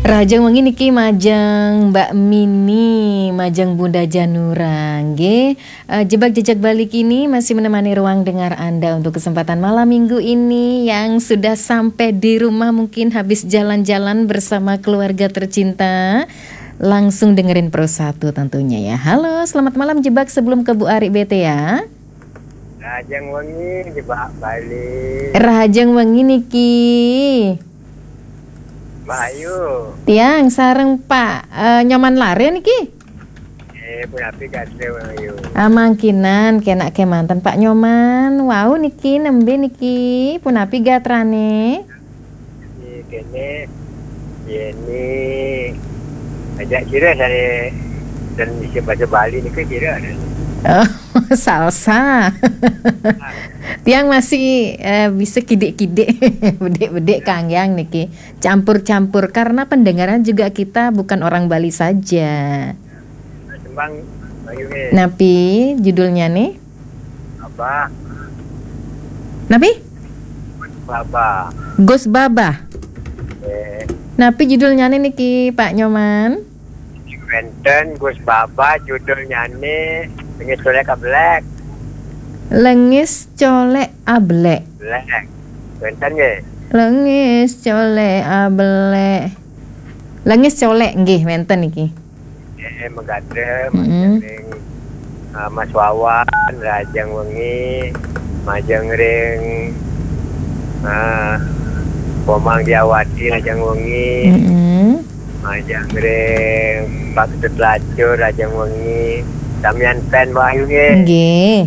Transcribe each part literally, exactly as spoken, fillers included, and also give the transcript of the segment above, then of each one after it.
Rahajeng wengi niki majeng Mbak Mini, majeng Bunda Janura, nggih. Eh, Jebak Jejak Bali kini masih menemani ruang dengar Anda untuk kesempatan malam minggu ini. Yang sudah sampai di rumah mungkin habis jalan-jalan bersama keluarga tercinta. Langsung dengerin Pro satu tentunya ya. Halo, selamat malam Jebak, sebelum ke Bu Ari bete ya. Rahajeng wengi, Jebak Bali. Rahajeng wengi niki. Mbak Ayu. Tiang sareng Pak, eh, Nyoman Lare niki. Eh, punapi gatra, Mbak Ayu? Amangkinan kenak kemanten Pak Nyoman. Wau niki nembe niki, punapi gatrane? Niki kene, yeni ajak kira dari dan bisa bahasa Bali niki kira. Oh, salsa. Tiang masih, eh, bisa kidik-kidik, bedik-bedik kanggiang niki. Campur-campur karena pendengaran juga kita bukan orang Bali saja. Tembang Mbak Ayu nggih. Napi judulnya nih? Apa? Napi? Baba. Gus Baba. Eh. Napi judulnya nih niki Pak Nyoman? Wenten Gus Baba judulnyane Lengis Colek Ablek. Lengis Colek Ablek. Blek. Wenten nggih. Lengis Colek Ablek. Lengis Colek nggih wenten niki. Eh, megate, mm-mm, majeng ring, eh, Mas Wawan, rahajeng wengi, majeng ring, eh, Komang Diawati, rahajeng wengi, mm-mm, majeng ring Pak Ketut Lacur, rahajeng wengi, samian pen Mbak Ayu nggih. Nggih.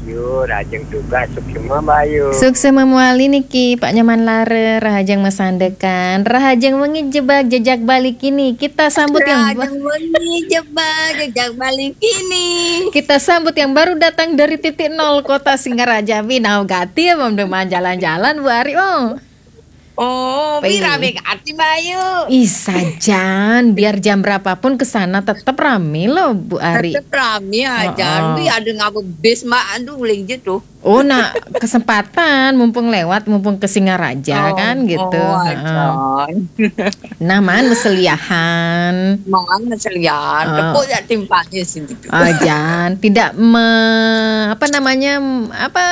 Yu, rahajeng tugas, suksema Mbak Ayu. Suksema muali niki, Pak Nyoman Lare, rahajeng masandekan, rahajeng wengi Jebak Jejak Bali kini. Kita sambut yang ba- Rahajeng wengi Jebak Jejak Bali kini. Kita sambut yang baru datang dari titik nol kota Singaraja. Winau gati ya, belum jalan-jalan Bu Ari. Oh. Oh, pi rame gati Mbak Ayu. Ih, sajan, biar jam berapapun ke sana tetap rame loh, Bu Ari. Tetap rame aja. Heeh. Pi ada ngapa bis Mbak, aduh, uling je tuh. Oh, nah, kesempatan mumpung lewat, mumpung ke Singaraja. Oh, kan gitu. Oh, heeh. Ajan. Nah, man meseliahan. Man meseliahan. Eh. Tepuk ya timpaknya sini. Ajan, tidak me-, apa namanya, apa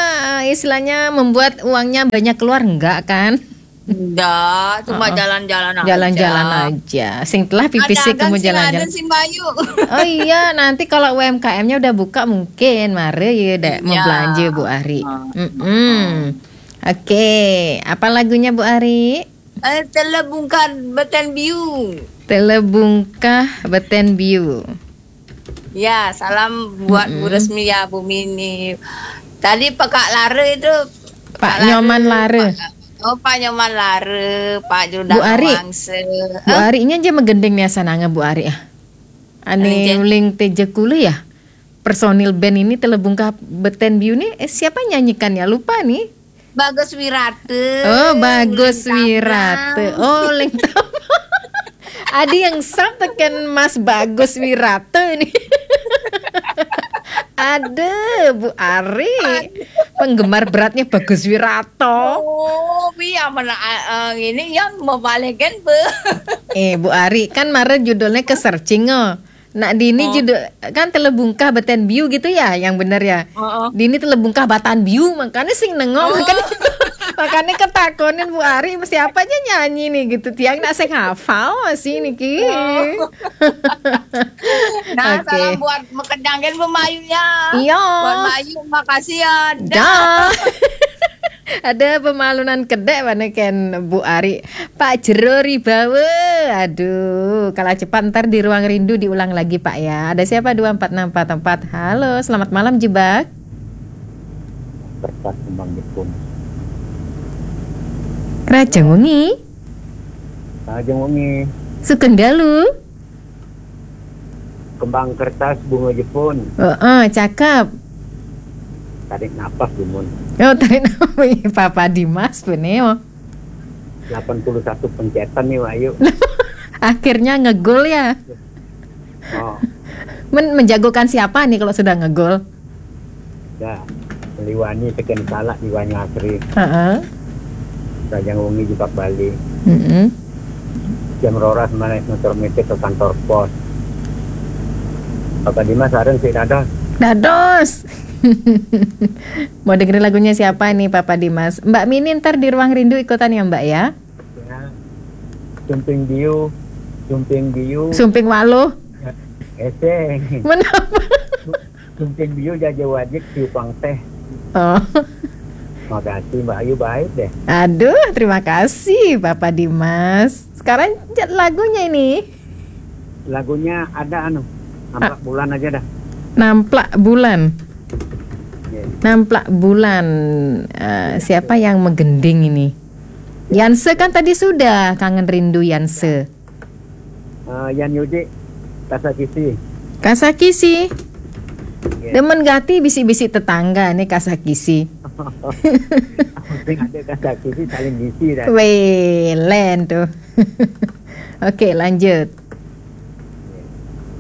istilahnya, membuat uangnya banyak keluar, enggak kan? Enggak, cuma jalan-jalan aja. Jalan-jalan aja. Sing telah pipis sih kamu jalan-jalan. Ada sih Mbak Ayu. Oh iya, nanti kalau U M K M-nya udah buka mungkin mari ya dek mau belanja Bu Ari. Iya. Mm-mm. Oke, apa lagunya Bu Ari? Eh, Telebungkah Beten Biu. Telebungkah Beten Biu. Ya, salam buat Bu Resmi ya, Bu Mini. Tadi Pak Lare itu, Pak Nyoman Lare. Pak, oh, Pak Nyoman Lare, Pak Judah Bu Ari. Wangse. Bu Ari, ini aja megendeng nih asananga Bu Ari ah. Ane uling teje kula ya. Personil band ini Telebungkah Beten Biu nih, eh, siapa nyanyikan ya? Lupa nih. Bagus Wirate. Oh, Bagus Wirate. Oh, Leng Tam-, ada yang sub teken Mas Bagus Wirate nih. Ada Bu Ari. Penggemar beratnya Bagus Wirate. Oh, iya mana, eh, ini yang mau balikin, Bu. Eh, Bu Ari, kan mare judulnya ke searching, oh. Nak dini judul kan Telebungkah Beten Biu gitu ya, yang bener ya. Heeh. Dini Telebungkah Batan Biu, makanya sing nengok, makanya, makanya ketakonin Bu Ari, siapa aja nyanyi nih gitu. Tiang nak sing hafal masih niki. Oh. Nah, oke. Salam buat mekedangin Bu Mayu ya. Iya. Buat Mayu, makasih ya. Dah. Dah. Ada pemalunan kedek mana ken Bu Ari. Pak Jero Ribawa. Aduh, kalah cepat, ntar di ruang rindu diulang lagi Pak ya. Ada siapa? Dua empat enam empat empat. Halo, selamat malam Jebak. Kertas kembang Jepun. Rahajeng wengi. Rahajeng wengi. Sugeng dalu. Kembang kertas bunga Jepun. Heeh, cakep. Tarik napas, Gumun. Oh, tarik napas. Papa Dimas, bener. Delapan puluh satu pencetan nih, Wahyu. Akhirnya ngegol ya. Oh. Men-, menjagokan siapa nih kalau sudah ngegol? Ya, Liwani teken salah, Liwani Asri. Heeh. Rahajeng wengi Jebak Bali. Mm-mm. Jam roras manéh motor miti ke kantor pos. Bapak Dimas sareng sik dados. Dados. Mau dengerin lagunya siapa nih, Papa Dimas? Mbak Mini ntar di Ruang Rindu ikutan ya, Mbak, ya? Ya. Sumping Biu, Sumping Biu. Sumping Waluh. Eseng. Menapa? Sumping Biu jaja wajik tiupang teh. Oh. Makasih Mbak Ayu, baik deh. Aduh, terima kasih Papa Dimas. Sekarang lagunya ini. Lagunya ada anu, Namplak Bulan aja dah. Namplak Bulan. Ya. Namplak Bulan. Eh, siapa yang menggending ini? Yanse kan tadi sudah, Kangen Rindu Yanse. Eh, Yan Yuji, Kasakisi. Kasakisi. Ya. Demen gati bisik-bisik tetangga nih, Kasakisi. Penting ada Kasakisi saling ngisi dah. Weh, len tuh. Oke, lanjut.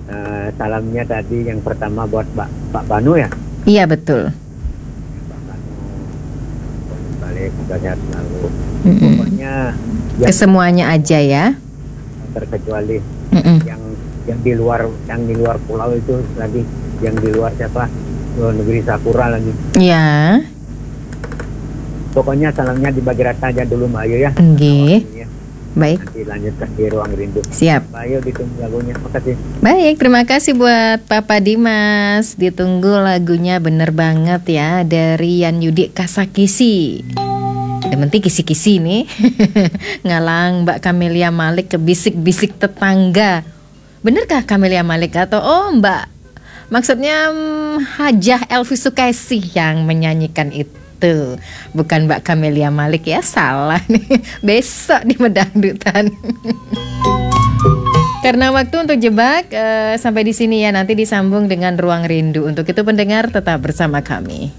Eh, salamnya tadi yang pertama buat Pak, Pak Banu ya. Iya, betul. Pak Banu, balik, semoga sehat selalu. Mm-mm. Pokoknya yang Kesemuanya aja ya. terkecuali Mm-mm. yang yang di luar, yang di luar pulau itu lagi, yang di luar siapa, luar negeri Sakura lagi. Ya, Pokoknya salamnya dibagi rata aja dulu Mbak Ayu ya. Nggih. Ya. Baik. Nanti lanjutkan di Ruang Rindu. Siap. Mbak Ayu, ditunggu lagunya. Makasih. Baik, terima kasih buat Papa Dimas. Ditunggu lagunya, bener banget ya, dari Yan Yudi, Kasakisi. Yang penting kisi-kisi nih. Ngalang Mbak Camelia Malik ke bisik-bisik tetangga. Benerkah Camelia Malik atau oh Mbak? Maksudnya mm, Hajah Elvi Sukaisi yang menyanyikan itu. Bukan Mbak Camelia Malik ya, salah nih. Besok di Medangdutan. Karena waktu untuk jebak eh, sampai di sini ya, nanti disambung dengan Ruang Rindu. Untuk itu pendengar tetap bersama kami.